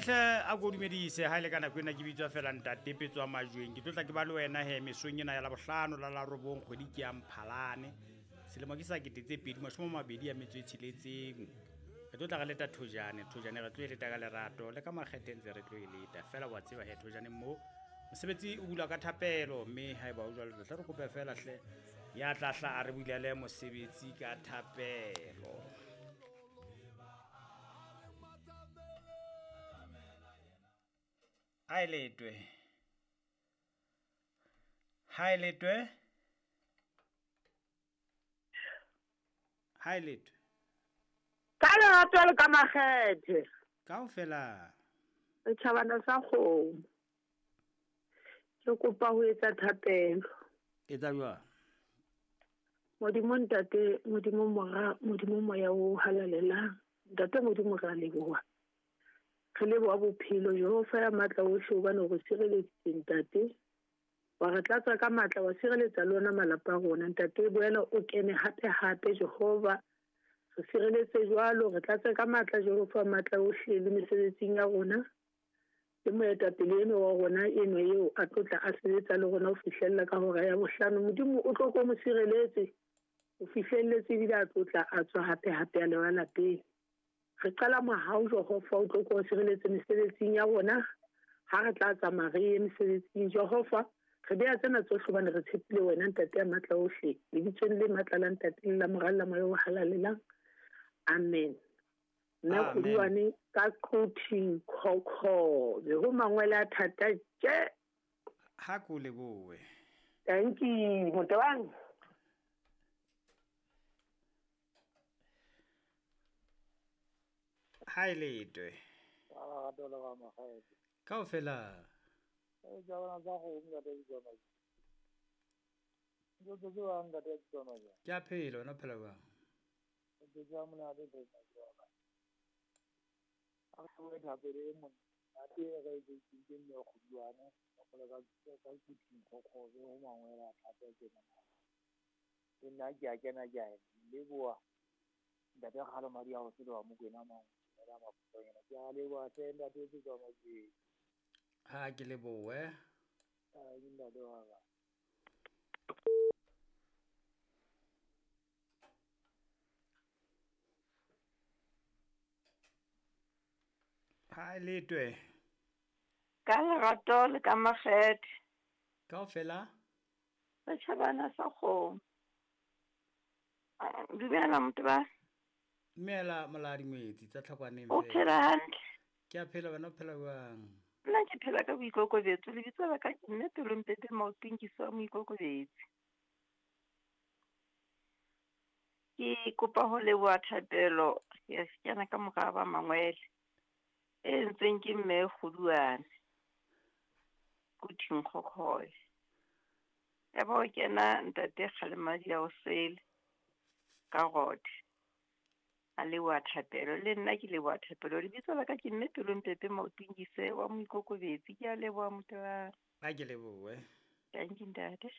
Hle a ko dumedise ha ile ka nako ena ke bitswa fela ntate Petswa Majweng. Ke tlotla ke ba le wena he mesong ena ya Labohlano la la robong kgwedi ke ya Mphalane. Selemo ke sa 2026. Re tlotla re leta thojane, thojane re tlo e leta ka lerato le ka makgethe ntse re tlo e leta. Fela wa tseba he thojane mo mosebetsi o bula ka thapelo mme haeba o jwalo hle re kope fela hle ya tla hla a re bulele mosebetsi ka thapelo. Ha e letwe. Ha e letwe. Ha e letwe. Ka lerato le ka makgethe. Kaofela. Setjhabana sa kgomo. Ke kopa ho etsa thapelo. Etsa jwang? Modimo ntate, Modimo mora, Modimo moya o halalelang. Ntate Modimo re a leboha. Re leboha bophelo Jehova ya matla ohle hobane o re sireleditse ntate. Wa re tlatsa ka matla, wa sireletsa le ona malapa a rona. Ntate boela o kene hape hape Jehova. Re sireletse jwalo, re tlatse ka matla Jehova matla ohle le mesebetsing ya rona. Le moetapele eno wa rona eno eo a tlotla a sebetsa le rona ho fihlella ka hora ya bohlano. Modimo o tlo ko mo sireletse o fihlelletse ebile a tlotla a tswa hape hape a leba lapeng. Re qala mohau Jehova o tlo ko sireletse mesebetsing ya rona ha re tla tsamaya re ye mesebetsing Jehova. Re beha tsena tsohle hobane re tshepile wena ntate ya matla ohle. Lebitsong le matla la ntate le la mora le la moya o halalelang. Amen. Nna Kgoduane ka Quthing Khokhobe ho mangwele a thata tje. Ha ko lebohe. Thank you motebang. Ha e letwe. Kaofela. Ke a phela, wena o phela jwang? Nna ke a kena ke a leboha ntate Kgalo madi a ho sele wa Mokwena mang ke a leboha hle ntate Petswa Majweng. Ha ke lebohe. Ke ntate wa ka. Ha e letwe. Ka lerato le ka makgethe. Kaofela. Setjhabana sa kgomo. Dumela motho ba. Dumela moladi ngwetsi tsa tlhakwaneng. O phela hantle. Ke a phela wena o phela jwang? Nna ke phela ka boikokobetso, lebitso la ka ke mme Pelompepe Maotong ke swa moikokobetsi. Ke kopa ho leboha thapelo ya kena ka mora ba mangwele. E entsweng ke mme Kgoduane. Quthing Khokhobe. Ya ba o kena ntate Kgalemadi ya osele ka rode. A leboha thapelo le nna ke leboha thapelo. Lebitso la ka ke mme Pelompepe Maotong ke se wa moikokobetsi. Ke a leboha motho wa. Ha ke lebohe. Thank you ntate.